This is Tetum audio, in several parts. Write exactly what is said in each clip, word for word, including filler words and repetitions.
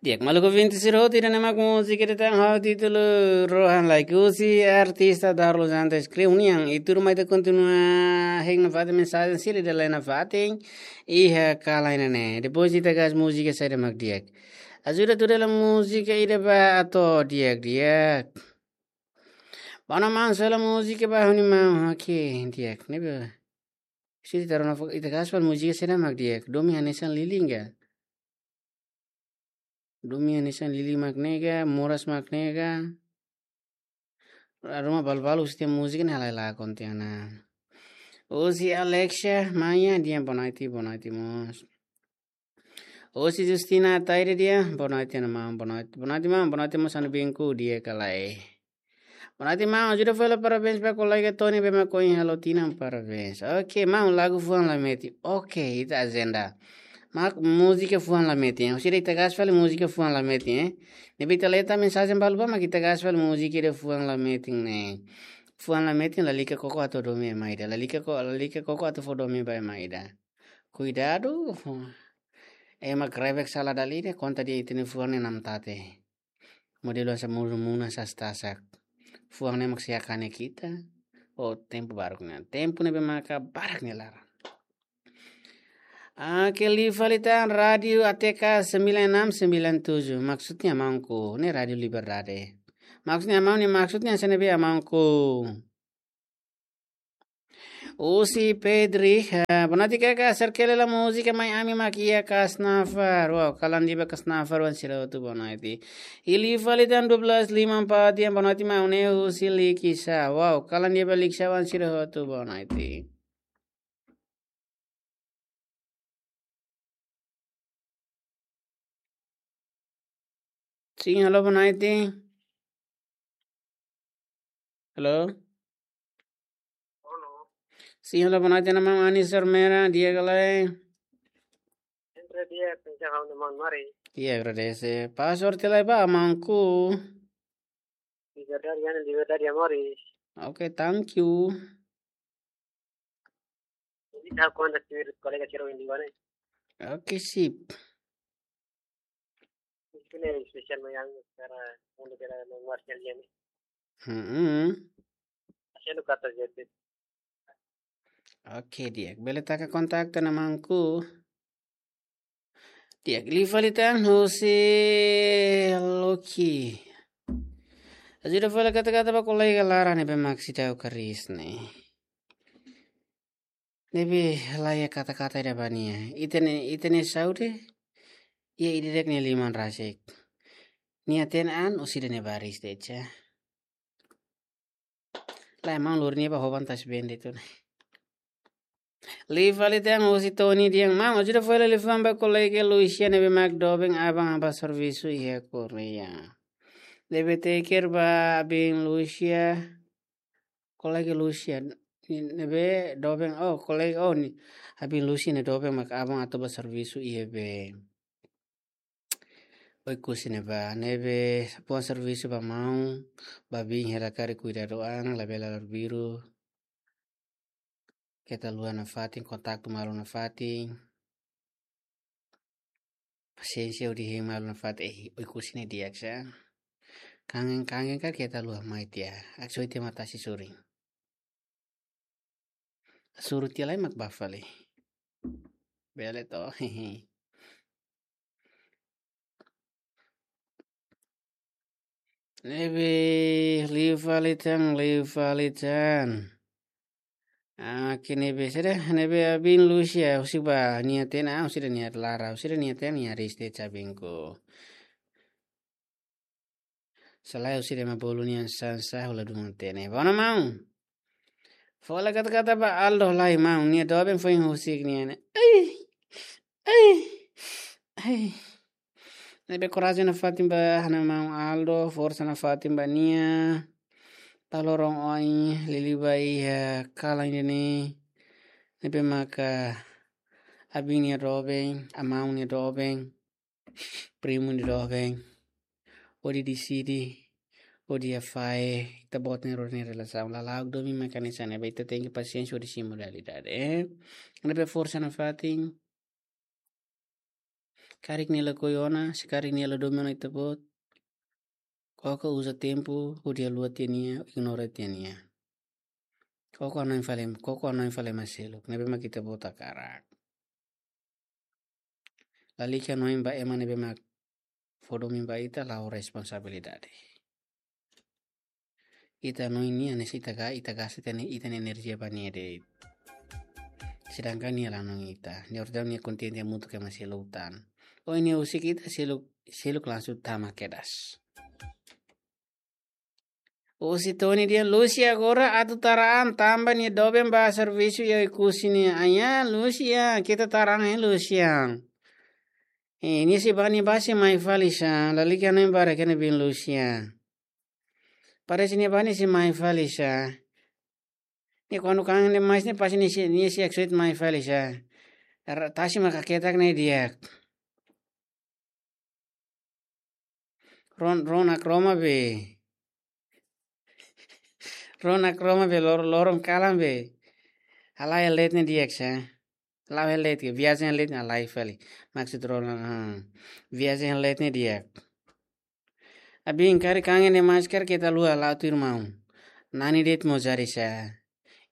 Di'ak, maluk ouvinte sira hotu, ida-ne'e mak múzika ida tan ho títulu Rohan Like. Husi artista Darlos Antes Kriu nian, i tuirmai ita kontinua hein nafatin mensajen sira ida lai nafatin iha kalan ida-ne'e. Depois ita hakat múzika saida mak di'ak. Ajuda tuir hela múzika ida ba atu di'ak, di'ak. Bá ona maun, sela múzika ba ha'u-nia maun, oke, di'ak. Ne'ebé. Sira ita rona fo-, ita hakat fali múzika saida mak di'ak. Domin hanesan li'ur ka? Domin hanesan li'ur mak ne'e ka, moras mak ne'e ka. Ruma balu-balu husi tiha múzika ne'e halai lakon tiha ona. Husi Alexia Maia dehan boa noite, boa noite mós. Husi Justina Ataide dehan boa noite, maun, boa noite. Boa noite, maun, boa noite mós, anu binku di'ak ka lae. Boa noite, maun, ajuda fali parabéns ba kolega Tony ne'ebé mak ohin halo tinan, parabéns. Oke, maun, lagu Fuan Lametin. Oke, ita ajenda. Mak múzika Fuan Lametin. Husi ida ita hakat fali múzika Fuan Lametin, eh. Ne'ebé ita leta mensajen balu ba mak ita hakat fali múzika ida Fuan Lametin ne'e. Fuan Lametin lalika koko atu domin ema ida. Lalika ko-, lalika koko atu fó domin ba ema ida. Kuidadu. Ema grebek sala dala ida, konta dehan ita-nia fuan ne'e namtate. Modelu hanesan munu-munu sas tasak. Fuan ne'e mak sei hakane ita. Oh, tempu barak ne'e. Tempu ne'ebé maka barak nia laran. Oke, liu fali tan Rádio A T K sembilan enam sembilan tujuh. Maksudnya maunku, ne'e Rádio Liberdade. Maksudnya maun ne'e, maksudnya hanesan ne'ebé maunku. Husi Pedri, eh, boa noite kaka, serkele la múzika Mai Ami mak iha Kasnafar. Wow, kalan di'ak ba Kasnafar oan sira hotu, boa noite. I liu fali tan dua belas lima empat dehan boa noite maun ne'e husi Likisá. Wow, kalan di'ak ba Likisá oan sira hotu, boa noite. Sim, alô, boa noite. Alô? Alô? Sim, alô, boa noite, maun Anis Armera, di'ak ka lae? Sempre di'ak, pensa hau ne maun mari. Di'ak, agradese. Password tiha lai ba maunku. Liberdade, ya, Liberdade, amor. Oke, thank you. Jadi, tahu kontak si kolega sira ohin liu ne'e. Oke, sip. Ini spesiál yang sekarang untuk kita menguatkan dia nih. Hmm. Saya lu kata jadi. Oke, di'ak. Bele taka kontak tiha ona maunku. Di'ak, liu fali tan husi Loki. Ajuda fali kata-kata ba kolega laran ne'ebé mak seidauk hariis ne'e. Ne'ebé la iha kata-kata ida ba nia. Ita-nia, ita-nia saúde iha ida-idak nia liman rasik. Nia hatene an, orsida nia baris de'it. Lae, maun lori nia ba hoban tas bende tu. Liu fali tan husi Tony dehan maun, ajuda fó hela liafuan ba kolega Lucia ne'ebé mak doben aban-an ba servisu iha Korea. Ne'ebé teker ba abin Lucia. Kolega Lucia ne'ebé doben, oh, kolega, oh, nia, abin Lucia ne'e doben mak aban atu ba servisu iha be. Oekusi ne'ebá, ne'ebé fó servisu ba maun, ba abin hela karik kuidadu an, labele arbiru. Keta haluha nafatin, kontaktu malu nafatin. Pasiénsia hodi hein malu nafatin, eh, Oekusi ne'e di'ak sa. Kangen, kangen karik keta haluha mai tiha. Aksoite matasi surin. Suru tiha lai mak bá fali. Bele to. Ne'ebé liu fali tan, liu fali tan. Ah, ke ne'ebé sede, ne'ebé abin Lucia, husik ba nia hatene, ah, husik ida nia laran, husik ida nia hatene, nia hariis de'it abinku. Selae husik ida ema bolu nia sansa hula duma hatene. Bá ona maun. Fó hela kata-kata ba Aldo lai maun, nia doben foin husik nia ne'e. Ai, ai, ai. Ne'ebé korajen nafatin ba ha'u-nia maun Aldo, forsa nafatin ba nia. Tau loron oin, liuliu ba iha kalan ida-ne'e. Ne'ebé maka abin nia doben, amaun nia doben. Primu nia doben. Hodi deside, hodi hafahe, ita-boot nia rua nia relasaun. Lala'ok domin mak hanesan ne'e, ba ita tenke pasiénsia hodi simu realidade, eh. Ne'ebé forsa nafatin. Karik nia lakohi ona, se karik nia la domin ona ita-boot, koko uza tempu hodi haluha tiha nia, ignora tiha nia. Koko hanoin fali, koko hanoin fali ema seluk ne'ebé mak ita-boot hakarak. Lalika hanoin ba ema ne'ebé mak fó domin ba ita, la'o responsabilidade. Ita hanoin nia, hanesan ita ga-, ita gasta ita-nia, ita-nia enerjia ba nia de'it. Sedangkan nia la hanoin ita. Nia orsida nia kontente hamutuk ho ema seluk tan. Ohin nia husik ita, seluk, seluk langsung tama kedas. Husi Tony dehan, Lucia agora atu tara an tanba nia doben ba servisu iha Oekusi nian. Aia, Lucia, keta tara an, hein, Lucia. Eh, nia sei bá, nia bá sei mai fali sá, lalika hanoin barak iha ne'ebé, Lucia. Parese nia bá nia sei mai fali sá. Nia kuandu kangen demais ne'e pasti nia sei, nia sei akseita mai fali sá. Ra-, tasi maka ketak ne'e di'ak. Ron, rona kroma be. Rona kroma be lor-, loron kalan be. Halai hela de'it ne'e di'ak sá. La'o hela de'it ke, viajen hela de'it ne'e halai fali. Maksud rona, ah, viajen hela de'it ne'e di'ak. Abin karik kangen demais karik keta haluha, la'o tuir maun. Nani de'it mós jari sá.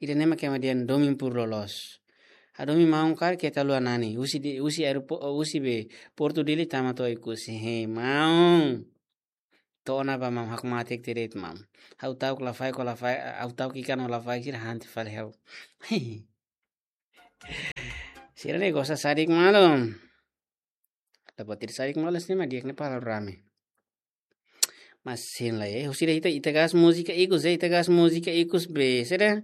Ida-ne'e mak ema dehan domin pur loloos. Hadomi maun karik keta haluha nani. Husi de-, husi aeropo-, husi be Portu Dili tama to'o Oekusi. He, maun. To'o ona bá maun, hakmatek tiha de'it maun. Ha'u ta'uk lafaek ho lafaek, ha'u ta'uk ikan ho lafaek sira han tiha fali ha'u. Sira ne'e gosta sadik malu. Dapat ida sadik malu sini mah di'ak ne'e palavra rame. Mas sin la eh. Husi ida ita, ita gasta múzika ikus, eh, ita gasta múzika ikus be. Sira, eh,